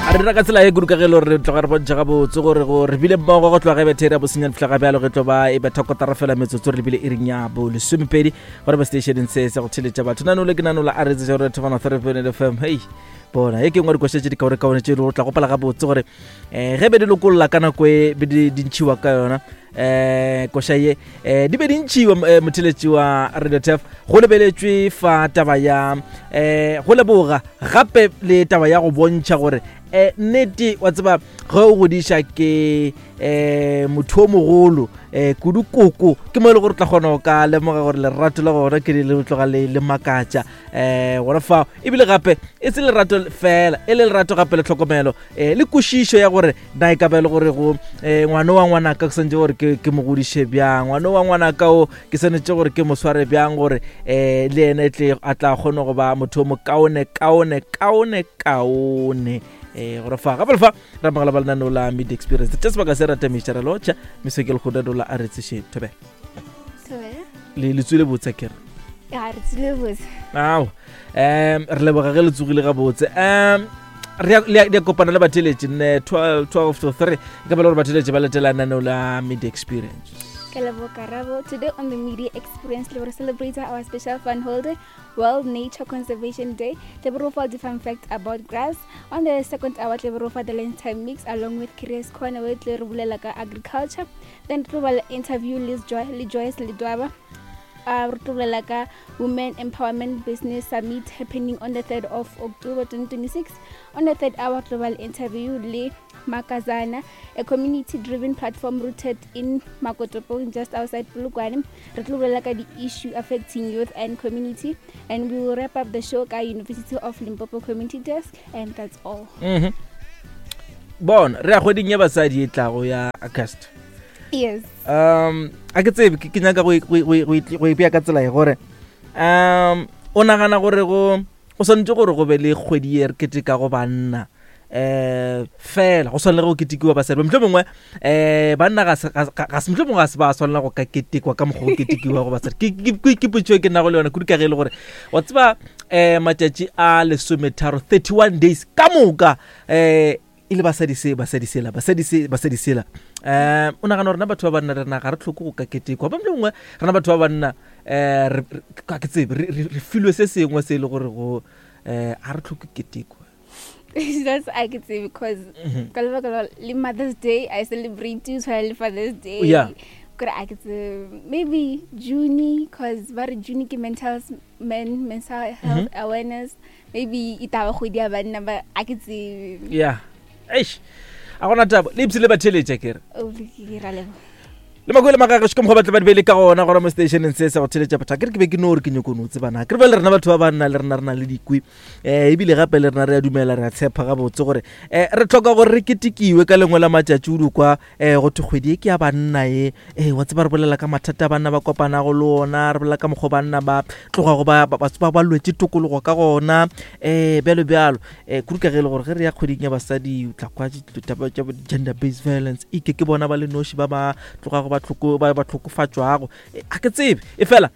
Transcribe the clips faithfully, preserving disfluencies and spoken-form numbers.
A re dira ka tsela e kudu ka ge e le gore re tloga re bontšha gabotse gore go re bile mmogo go tloga ge bethe ya bosenyane fihla ga bjalo ge tlo ba e betha kotara fela metsotso re lebile iring ya bo lesomepedi gore ba stationeng se sa go theletša batho. Nanole ke nanola a re tse gore thobana three point F M. Hei bona e ke nngwe dikoša tše di kaonekaone tše e le gore tla gopela gabotse gore um ge be di lokolla ka nako e be di di ntšhiwa ka yona um koša ye um di be di ntšhiwa um motheletši wa Radio Turf go lebeletšwe fa taba ya um go leboga gape le taba ya go bontšha gore um nnete wa tseba ge o godiša ke um motho o mogolo um kudu koko ke mo e le gore o tla kgona go ka lemoga gore lerato la gona ke le tloga le le makatša um gona fao ebile gape e se lerato fela e le lerato gape le tlhokomelo um le kwešišo ya gore na e ka ba e le gore go um ngwana wa ngwanaka ke swanetše gore ke ke mo godiše bjang, ngwana wa ngwanaka o ke swanetše gore ke mo sware bjang gore um le yena e tle a tla kgone go ba motho o mokaone kaone kaone kaone eh gore fa gape le fa re amogela ba lenaneo la Media Experience tša sebaka se ratamiša re lotšha meso ke lekgoda dola a re tseše thobela Thobela. le le tswile botse kere Ya, re tswile botse. Ao, um re leboga ge le tsogile gabotse. Um re ya- le ya- le ya kopana le batheletši nne twelve twelve to three e ka ba le gore batheletši ba letela lenaneo la Media Experience. Ke leboga Karabo. Today on the Media Experience, we will celebrate our special fun holiday, World Nature Conservation Day. We will offer different facts about grass. On the second hour, we will offer the lunchtime mix along with Curious Corner, where we will like agriculture. Then we will interview Liz Joy, Liz Joyce Lidwaba. Uh, re tlo bolela ka Women Empowerment Business Summit happening on the third of October twenty twenty-six. On the third hour, global interview le Makazana, a community-driven platform rooted in Makotopong, just outside Polokwane. Re tlo bolela ka the issue affecting youth and community, and we will wrap up the show ka University of Limpopo Community Desk, and that's all. Mm-hmm. Bona, re ya kgweding ya basadi e tlago ya August. Yes. Um, a ke tsebe, ke, ke nyaka go e, go e, go e, go e, go e bea ka tsela e gore, um, o nagana gore go, go swanetše gore go be le kgwedi e re ketekago banna, eh, fela go swanela go ketekiwa basadi. Mohlomongwe, eh, banna ga se, ga, ga, ga se, mohlomongwe ga se ba swanela go ka ketekwa ka mokgwa go ketekiwa go basadi. Ke, ke, ke, ke potšo e ke nago le yona kudu ka ge e le gore, wa tseba, eh, matšatši a lesometharo, thirty-one days ka moka, eh, e le basadi se, basadi sela, basadi se, basadi sela. Eh, o nagana gore na batho ba banna rena ga re tlhoke go ka ketekwa. Ba mohlomongwe rena batho ba banna, eh, re, re, ka ke tsebe, re, re, re filwe se sengwe se e le gore go, eh, ga re tlhoke ketekwa. That's I could say because Mm-hmm. ka lebaka la le Mother's Day I celebrate too, tshwana le Father's Day. Yeah. Kore I could say maybe June, 'cause ba re June ke mental s-, men, mental health Mm-hmm. awareness. Maybe e taba kgwedi ya banna, but I could say Yeah. Eish. A gona taba. Le ipshile ba theletša ke re. Oh, ke ra leboga. Le makwele magagešo ka mokgwa ba tle ba di beile ka gona gona mo stationeng se sa go theletša batho. Akere ke be ke no re ke nyoko no tsebana. Akere bjale rena batho ba banna le rena re na le dikwi. Eh, ebile gape le rena re a dumela, re a tshepa gabotse gore, eh, re tlhoka gore re ketekiwe ka lengwe la matšatši o di kwa, eh, go thwe kgwedi e ke ya banna e. Eh, wa tseba re bolela ka mathata a banna ba kopanago le ona, re bolela ka mokgwa banna ba tlogago ba, ba, ba, ba, ba lwetše tokologo ka gona, eh, bjalo bjalo. Eh, kudu ka ge e le gore ge re ya kgweding ya basadi, o tla kwa ditaba tša bo gender based violence, e ke ke bona ba le noši ba ba tlogago ba tlhoko, ba, ba tlhokofatšwago. Eh, a ke tsebe. E fela,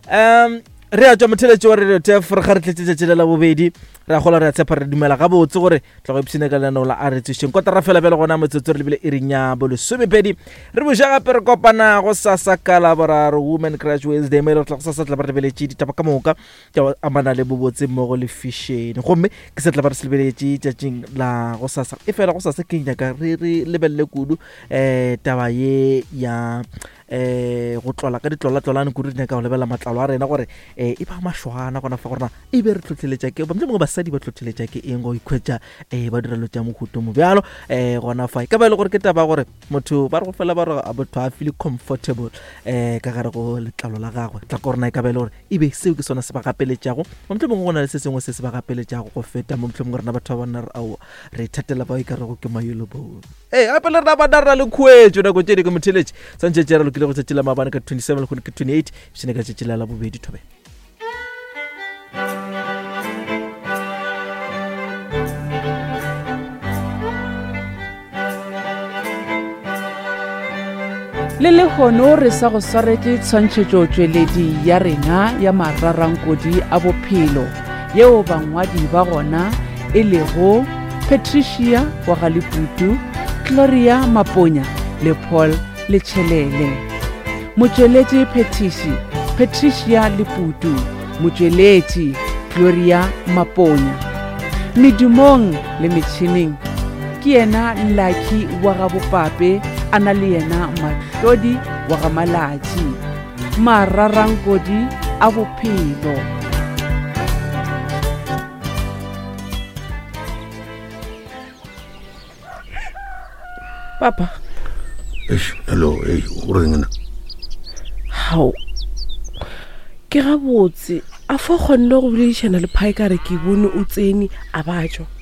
um, re a tšwa motheletši wa Radio Turf, re ga re tletse tšatši le la bobedi, re a kgolwa, re a tshepa, re dumela gabotse gore tla go ipshina ka lenaneo la A Re Tsošeng. Kotara fela bjale gona metsotso re lebile iring ya bolesomepedi. Re boša gape re kopana go sasa ka Laboraro, Women Crush Wednesday, mo e le gore tla go sasa tla ba re lebeletše ditaba ka moka tša go amana le bobotse mmogo le fashion. Gomme ke se tla ba re se lebeletše tšatšing la go sasa. E fela go sasa ke nyaka re, re lebelele kudu, eh, taba ye ya, eh, go tlola ka ditlola-tlolane kudu. Re nyaka go lebelela matlalo a rena gore, eh, e ba mašwana gona fa gore na e be re tlhotlheletša ke, mohlomongwe basadi ba tlhotlheletša ke eng go ikhwetša, eh, ba dira dilo tša mohuta mo bjalo, eh, gona fa. E ka ba e le gore ke taba ya gore motho ba re go fela ba re, a motho a feel comfortable, eh, ka gare go letlalo la gagwe. Tla ko rena e ka ba e le gore e be seo ke sona se ba gapeletšago, mohlomongwe go na le se sengwe se se ba gapeletšago go feta mo. Mohlomongwe rena batho ba banna re, aowa, re ithatela bao e ka rego ke mayolo bone. Ee, gape le rena banna re na le khuetšo nako tše dingwe motheletši. Swantšhe tše re lokile go tšatši la maabane ka twenty-seven, lehono ke twenty-eight, ipshine ka tšatši la Labobedi. Thobela. Le lehono re sa go swaretše tshwantšhetšotšweledi ya rena ya mararankodi a bophelo, yeo bangwadi ba gona e lego Patricia wa ga Leputu, Gloria Maponya le Paul Letšhelele. Motšweletši phethiši Patricia Leputu, motšweletši Gloria Maponya. Medumong le metšhineng ke yena Lucky wa ga Bopape, a na le yena Mahlodi wa ga Malatši. Mararankodi a bophelo. Papa. Eish, hello, ei, o reng nna? Hao. Ke gabotse, a fa kgonne go boledišana le Phai ka re ke bone o tsene a ba tšwa.